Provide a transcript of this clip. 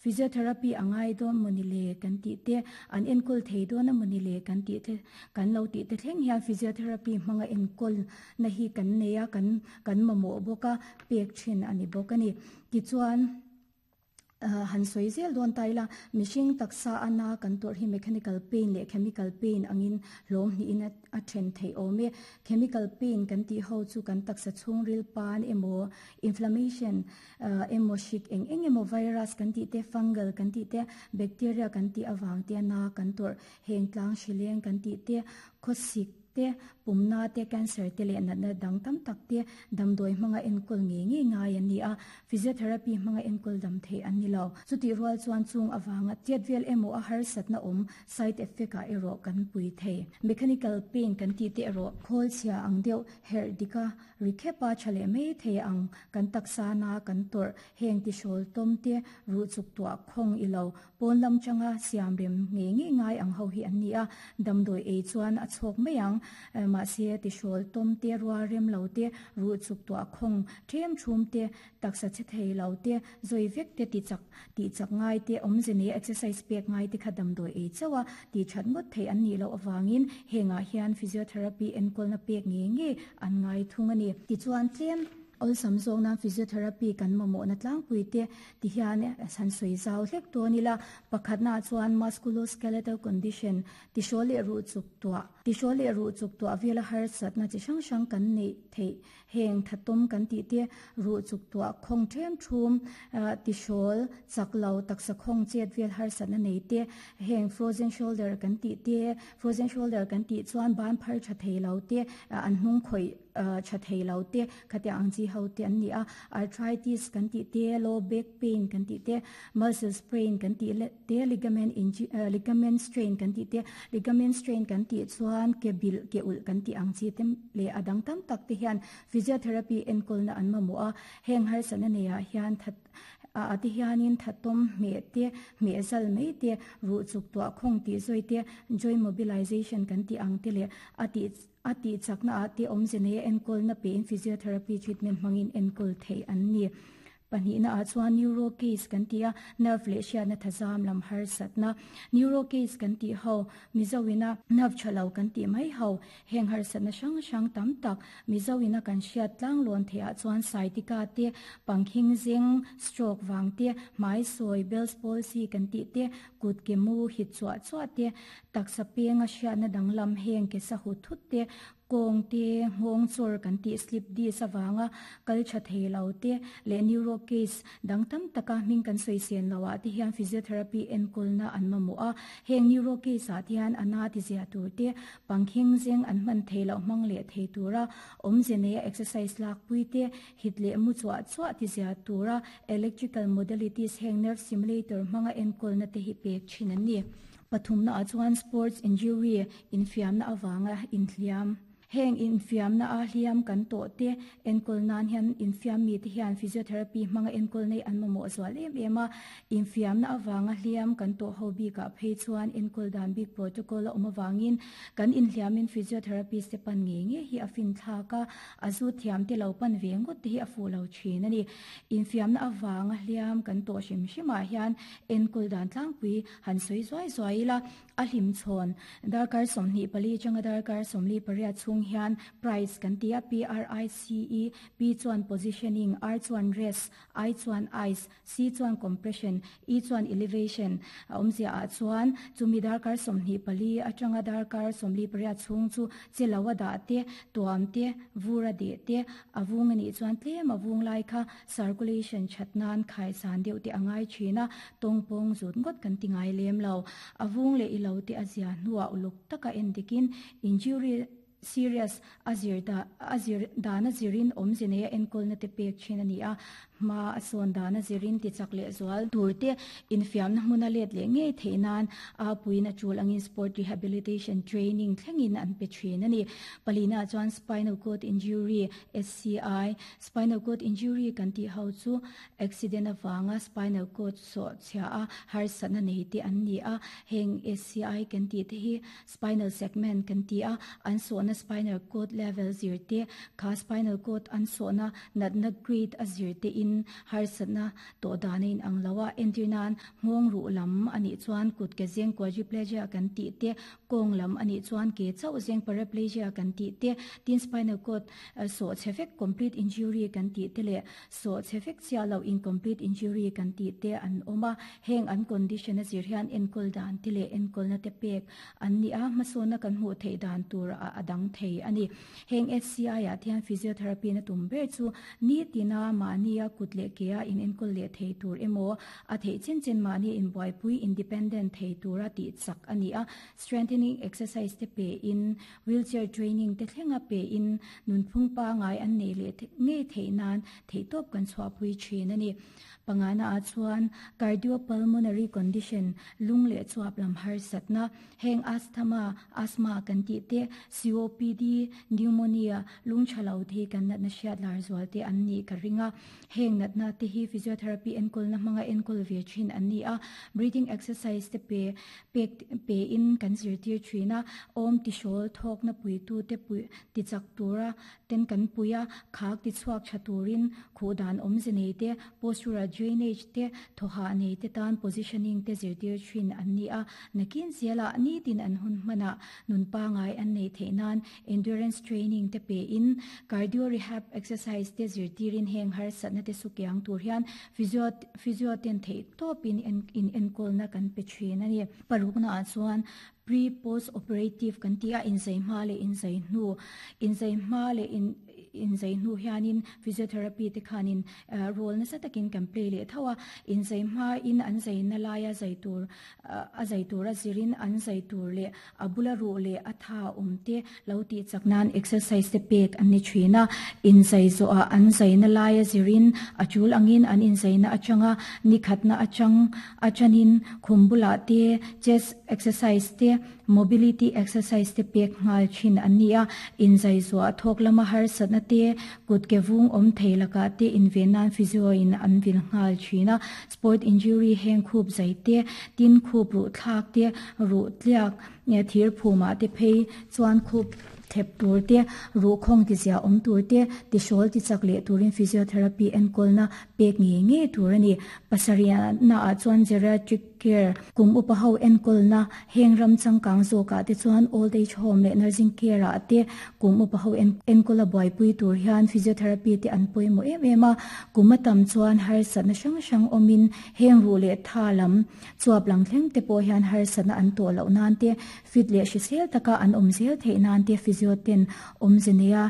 Physiotherapy a ngai dawn mawni le kan tih te, an enkawl thei dawn a mawni le kan tih te, kan lo tih te thleng hian physiotherapy hmanga enkawl na hi kan nei a, kan kan mamawh bawk a, pek thin a ni bawk a ni. Tichuan. Han sawi zel dawn ta ila, mihring taksa a na kan tawrh hi mechanical pain leh chemical pain angin hlawm hnihin a then theih awm e. Chemical pain kan tih ho chu kan taksa chhungril pan emaw, inflammation emaw hrik eng eng emaw virus kan tih te, fungal kan tih te, bacteria kan tih avang te na kan tawrh, heng tlang hrileng kan tih te, khawsik, te, pumna te, cancer te leh natna dang tam tak te damdawi hmanga enkawl ngei ngei ngai an ni a, physiotherapy hmanga enkawl dam theih an ni lo. Chutih rual chuan chung avanga chet vel emaw a harsatna awm side effect ah erawh kan pui thei. Mechanical pain kan tih te erawh khawl chhia ang deuh herh dika ri khepa tha leh mai thei ang kan taksa na kan tawrh heng tihrawl tawm te ruh chuk tuah khawng i lo Pawn lam changa siam rem ngei ngei ngai ang ho hi an ni a, damdawi ei chuan a chhawk mai ang. Mahse, tihrawl tawm te, rual rem lo te, ruh chuk tuah khawng ṭhem ṭhum te, taksa chhe thei lo te, zawi vek te ti chak tih chak ngai te, awmze nei exercise pek ngai te kha damdawi ei chauh a, tih ṭhat ngawt theih an nih loh avangin hengah hian physiotherapy enkawlna pek ngei ngei an ngai thung a ni. Tichuan tlem. Awlsam zawk nan physiotherapy kan mamawhna tlangpui te ti hian han sawi zau hlek dawn ila, pakhatnaah chuan musculoskeletal condition, tihrawl leh ruh chuk tuah, tihrawl leh ruh chuk tuah vela harsatna chi hrang hrang kan neih theih, heng thatawm kan tih te, ruh chuk tuah khawng ṭhem ṭhum, tihrawl chak lo taksa khawng chet vel harsatna nei te, heng frozen shoulder kan tih te, frozen shoulder kan tih chuan ban phar ṭha thei lo te, an hnung khawih. tha thei lo te, khatiang ang chi ho te an ni a, arthritis kan tih te, low back pain kan tih te, muscle sprain kan tih te, ligament ligament strain kan tih te, ligament strain kan tih chuan ke bilh ke ulh kan tih ang chi te leh a dang tam tak te hian physiotherapy enkawlna an mamawh a, heng harsatna neiah hian that ah te hianin thatawm hmeh te, hmeh zal mai te, ruh chuk tuah khawng tih zawi te, joint mobilization kan tih ang te leh a tih A tih chakna ah te awmze nei a enkawlna pein physiotherapy treatment hmangin enkawl theih an ni. Pahnihna ah chuan neuro case kan ti a, nerve leh hriatna thazam lam harsatna. Neuro case kan tih ho, Mizo ina nerve tha lo kan tih mai ho, heng harsatna hrang hrang tam tak Mizo ina kan hriat tlanglawn theih ah chuan sciatica te, pangkhing zeng, stroke vang te, hmai sawi, Bell's palsy kan tih te, kut ke mu hit chuah chuah te, Taksa penga hriatna danglam heng ke sa hut thut te, kawng te, nghawng chawr kan tih slip disc avanga kal tha thei lo te leh neuro case dang tam taka hming kan sawi sen lo ah te hian physiotherapy enkawlna an mamawh a. Heng neuro case ah te hian a na ti zia tur te, pangkhing zeng an hman thei loh hmang leh thei tura awmze neia exercise lakpui te, hit leh mu chuah chuah ti zia tura electrical modalities heng nerve stimulator hmanga enkawlna te hi pek thin an ni. Pathumna ah chuan sports injury, infiamna avanga inhliam. Heng infiamna a hliam kan tawh te enkawl nan hian infiam mite hian physiotherapy hmanga enkawl nei an mamawh zual em em a. Infiamna avanga hliam kan tawh ho bikah phei chuan enkawl dan bik protocol a awm avangin kan inhliamin physiotherapist te pan ngei ngei hi a finthlak a, a zu thiam te lo pan ve ngawt te hi a fuh lo thin a ni. Infiamna avanga hliam kan tawh hrim hrimah hian enkawl dan tlangpui Han sawi zuai zuai ila, a hlim chhawn darkar 24 atanga darkar 48 chhung hian price kan ti a, P-R-I-C-E, P chuan positioning, R chuan rest, I chuan ice, C chuan compression, E chuan elevation a awmzia ah chuan chumi darkar 24 atanga darkar 48 chhung chu che lo a dah te, tuam te, vur a deh te, a vung a nih chuan tlem a vung lai kha Circulation that nan khaisan deuh te a ngai thin a, tawngpawng zut ngawt kan ti ngai lem lo. A vung leh i lo te a zia hnuah uluk taka en dikin injury serious a zir da a zir dan a zirin awmze nei a enkawlna te pek thin a ni a, hma a sawn dan a zirin ti chak leh zual tur te infiamna hmuna let leh ngei theih nan a puiin a tul angin sport rehabilitation training thlengin an pe thin a ni. Palina chuan spinal cord injury, SCI, Spinal cord injury kan tih ho chu accident avanga spinal cord sawh chhia a harsatna nei te an ni a, heng SCI kan tih te hi spinal segment kan ti a, an sawhna spinal cord level zir te, kha spinal cord an sawhna natna grade a zir te in. zirin harsatna tawh dan a inang lo a, entir nan nghawng ruh lam a nih chuan kut ke zeng quadriplegia kan tih te, kawng lam a nih chuan ke chauh zeng paraplegia kan tih te, tin spinal cord sawh chhe vek complete injury kan tih te leh sawh chhe vek chiah loh incomplete injury kan tih te an awm a, heng an condition a zir hian enkawl dan te leh enkawlna te pek an ni a, hmasawnna kan hmuh theih dan tur a dang thei a ni. Heng HCI ah te hian physiotherapy na tum ber chu nitina mahnia kut leh ke a inenkawl leh thei tur emaw a theih chen chen mahnia inbuaipui independent thei tura tih chak a ni a, strengthening exercise te pe in wheelchair training te thlenga pe in nunphung pangai an neih leh ngei theih nan theihtawp kan chhuahpui thin a ni. Pangana ah chuan cardiopulmonary condition lung leh chuap lam harsatna Heng asthma, asthma, kan tih te, COPD, pneumonia, lung tha lo te hi kan natna hriat lar zual te an nih ka ring a. Heng natna te hi physiotherapy enkawlna hmanga enkawl ve thin an ni a. Breathing exercise te pe pek pe in kan zirtir thin a. Awm tihrawl thawkna puitu te pui tichak tura ten kan pui a, khak tichhuak tha turin khuh dan awmze nei te, postural drainage te, thawhah nei te tan positioning te zirtir thin an ni a. Nakin zelah nitin an hun hmanah nun pangai an neih theih nan endurance training te pein cardio rehab exercise te zirtirin heng harsatna te sukiang tur hian physio physio ten theih tawpin in enkawlna kan pe thin a ni. Parukna ah chuan pre post operative kan tih a, inzai hma leh inzai hnu, inzai hma leh in inzai hnu hianin physiotherapy te khanin role nasa takin kan play leh tho a, inzai hmain an zaina laia zai tur a zai tura zirin an zai tur leh a bula ruh leh a tha awm te lo tih chak nan exercise te pek an ni thin a, inzai zawhah an zaina laia zirin a tul angin an inzaina atanga nikhatna atang atanin khum bulah te chest exercise te mobility exercise te pek nghal thin an ni a, inzai zuah thawk lama harsatna te kut ke vung awm thei lakah te inven nan physio in an vil nghal thin a. Sport injury heng khup zai te, tin khup ruh thlak te, ruh tliak thir phumah te phei chuan khup thep tur te, ruh khawng ti zia awm tur te, tihrawl ti chak leh turin physiotherapy enkawlna pek ngei ngei tur a ni. Pasarihna ah chuan geriatric care kum upa ho enkawlna heng ram changkang zawkah te chuan old age home leh nursing care ah te kum upa ho enkawl a buaipui tur hian physiotherapy te an pawimawh em em a, kum a tam chuan harsatna hrang hrang awmin heng ruh leh tha lam chuap lang thleng te pawh hian harsatna an tawh loh nan te fit leh hrisel taka an awm zel theih nan te physio ten awmze neia.